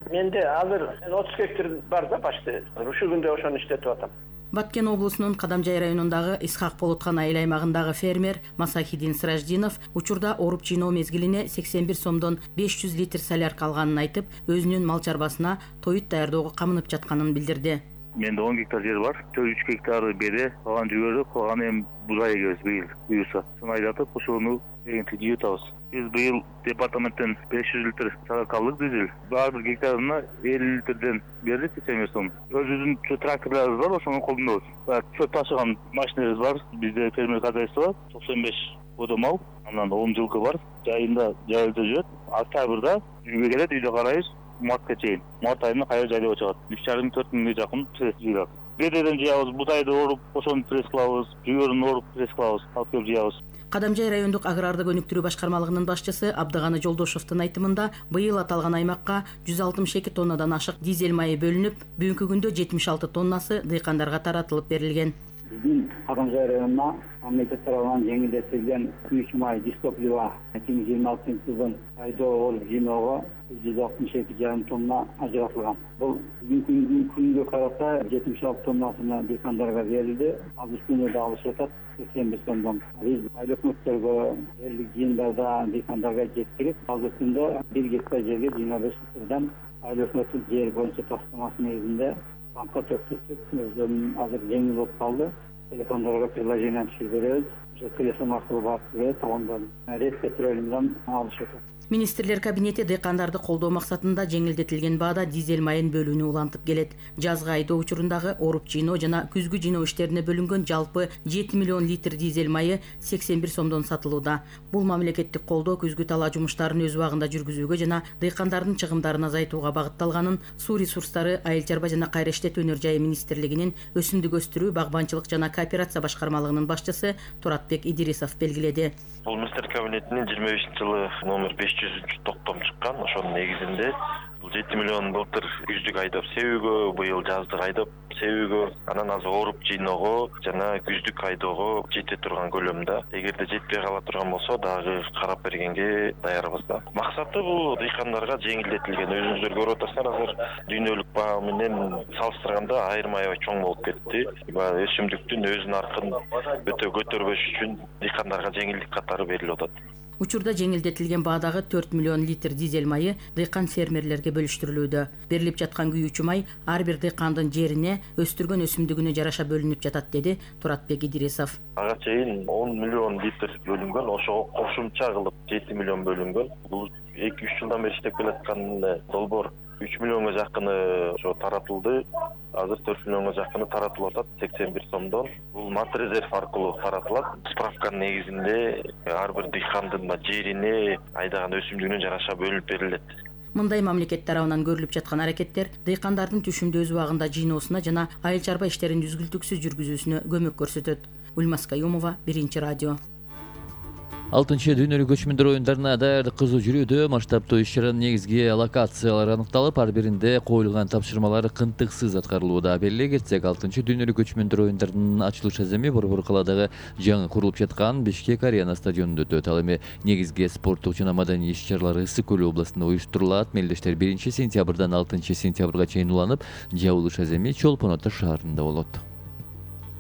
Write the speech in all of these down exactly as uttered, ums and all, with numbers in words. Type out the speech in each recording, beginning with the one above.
Менде азыр отуз гектар бар да почти. Ушул күндө ошону иштетип атам. Баткен облусунун Кадамжай районундагы Исхак Болоткан айыл аймагындагы фермер Масахидин Сираждинов учурда оруп жыйноо мезгилине сексен бир сомдон беш жүз литр солярка алганын айтып, өзүнүн мал чарбасына тоют даярдоого камынып жатканын билдирди. Менде он гектар жер бар. үч гектары бере, калган жүгөрү, калган эми бузай эгебиз быйыл буюрса. Сону айдатып, ошону эгинти жыйып атабыз. Биз быйыл департаменттен беш жүз литр солярка алдык дизель. Ар бир гектарына элүү литрден бердик сексен беш сом. Өзүбүздүн тракторлорубуз бар, ошону колдонобуз. Чөп ташыган машинабыз бар. Бизде фермер хозяйство токсон беш бодо мал, анан он жылкы бар. Жайында жайылда жүрөт. Октябрда үйгө келет, үйдө карайбыз. Мартка чейин. Март айында кайра жайлап чыгат. үч жарым төрт миңге жакын пресс жыйылат. Бедеден жыябыз, бутайды оруп, ошону пресс кылабыз, жүгөрүн оруп пресс кылабыз, алып келип жыябыз. Кадамжай райондук агрардык өнүктүрүү башкармалыгынын башчысы Абдыганы Жолдошовдун айтымында, быйыл аталган аймакка жүз алтымыш эки тоннадан ашык дизель майы бөлүнүп, бүгүнкү күндө жетимиш алты тоннасы дыйкандарга таратылып берилген. Биздин Кадамжай районуна мамлекет тарабынан жеңилдетилген күйүүчү май дистоплива эки миң жыйырма алтынчы жылдын айдоо оруп жыйноого жүз алтымыш эки жарым тонна ажыратылган. Бул бүгүнкү күнгө карата жетимиш алты тоннасына дыйкандарга берилди. Азыр күнү да алышып атат сексен беш тоннадан. Биз айыл өкмөттөргө элдик жыйындарда дыйкандарга жеткирип, азыр күндө бир гектар жерге жыйырма беш литрден айыл өкмөттүн жер боюнча тапсырмасы негизинде банкка төктүрүп, өзүнүн азыр жеңил болуп калды. Телефондорго приложение түшүрүп беребиз. Ошо телефон аркылуу барып берет, ондан рет петролиумдан алышып атат. Министрлер кабинети дыйкандарды колдоо максатында жеңилдетилген баада дизель майын бөлүүнү улантып келет. Жазгы айдоо учурундагы оруп жыйноо жана күзгү жыйноо иштерине бөлүнгөн жалпы жети миллион литр дизель майы сексен бир сомдон сатылууда. Бул мамлекеттик колдоо күзгү талаа жумуштарын өз убагында жүргүзүүгө жана дыйкандардын чыгымдарын азайтууга багытталганын Суу ресурстары, Айыл чарба жана кайра иштетүү өнөр жайы министрлигинин өсүмдүк өстүрүү, багбанчылык жана кооперация башкармалыгынын башчысы Туратбек Идирисов белгиледи. Бул министрлер кабинетинин жыйырма бешинчи жылы номер беш жүзүнчү токтом чыккан. Ошонун негизинде бул жети миллион былтыр күздүк айдап себүүгө, быйыл жаздык айдап себүүгө, анан азыр оруп жыйноого жана күздүк айдоого жете турган көлөмдө. Эгерде жетпей кала турган болсо, дагы карап бергенге даярбыз да. Максаты бул дыйкандарга жеңилдетилген. Өзүңүздөр көрүп атасыздар, азыр дүйнөлүк баа менен салыштырганда айырма аябай чоң болуп кетти. Өсүмдүктүн өз наркын өтө көтөрбөш үчүн дыйкандарга жеңилдик катары берилип атат. Учурда жеңилдетилген баадагы төрт миллион литр дизель майы дыйкан фермерлерге бөлүштүрүлүүдө. Берилип жаткан күйүүчү май ар бир дыйкандын жерине, өстүргөн өсүмдүгүнө жараша бөлүнүп жатат, деди Туратбек Идирисов. Ага чейин он миллион литр бөлүнгөн, ошого кошумча кылып жети миллион бөлүнгөн. Бул эки үч жылдан бери иштеп келаткан долбоор үч миллионго жакыны ошо таратылды. Азыр төрт миллионго жакыны таратылып атат сексен бир сомдон. Бул матрезерв аркылуу таратылат. Справканын негизинде ар бир дыйкандын жерине, айдаган өсүмдүгүнө жараша бөлүнүп берилет. Мындай мамлекет тарабынан көрүлүп жаткан аракеттер дыйкандардын түшүмдү өз убагында жыйноосуна жана айыл чарба иштерин үзгүлтүксүз жүргүзүүсүнө көмөк көрсөтөт. Ульмас Каюмова, Биринчи радио. алтынчы дүйнөлүк көчмөндөр оюндарына даярдык кызуу жүрүүдө. Масштабтуу иш-чаранын негизги локациялары аныкталып, ар биринде коюлган тапшырмалар кынтыксыз аткарылууда. Белгилей кетсек, алтынчы дүйнөлүк көчмөндөр оюндарынын ачылыш аземи Борбор калаадагы жаңы курулуп жаткан Бишкек Арена стадионунда өтөт. Ал эми негизги спорттук жана маданий иш-чаралар Ысык көлү областында уюштурулат. Мелдештер биринчи сентябрдан алтынчы сентябрга чейин уланып, жабылыш аземи Чолпон Ата шаарында болот.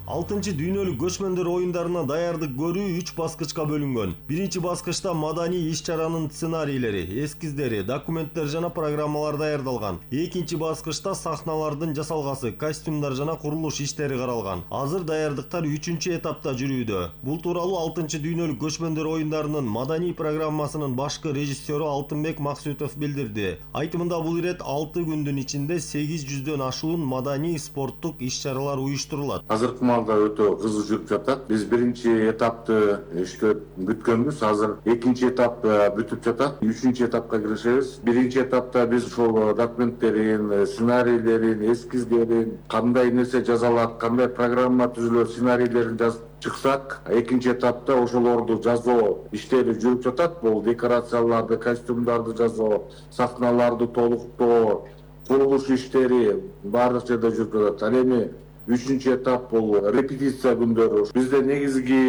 алтынчы дүйнөлүк көчмөндөр оюндарына даярдык көрүү үч баскычка бөлүнгөн. Биринчи баскычта маданий иш-чаранын сценарийлери, эскиздери, документтер жана программалар даярдалган. Экинчи баскычта сахналардын жасалгасы, костюмдар жана курулуш иштери каралган. Азыр даярдыктар үчүнчү этапта жүрүүдө. Бул тууралуу алтынчы дүйнөлүк көчмөндөр оюндарынын маданий программасынын башкы режиссеру Алтынбек Максутов билдирди. Айтымында бул ирет алты күндүн ичинде сегиз жүздөн ашуун маданий спорттук иш-чаралар уюштурулат. Азыркы өтө кызуу жүрүп жатат. Биз биринчи этапты иштеп бүткөнбүз. Азыр экинчи этап бүтүп жатат. Үчүнчү этапка киришебиз. Биринчи этапта биз ошол документтерин, сценарийлерин, эскиздерин, кандай нерсе жазалат, кандай программа түзүлөт, сценарийлерин жазып чыксак, экинчи этапта ошолорду жазуу иштери жүрүп жатат. Бул декорацияларды, костюмдарды жазуу, сахналарды толуктоо, курулуш иштери баардык жерде жүрүп жатат. Ал эми үчүнчү этап бул репетиция күндөрү. Бизде негизги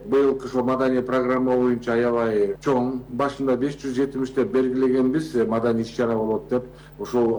быйылкы ошо маданий программа боюнча аябай чоң. Башында беш жүз жетимиштеп белгилегенбиз маданий иш чара болот деп. Ошол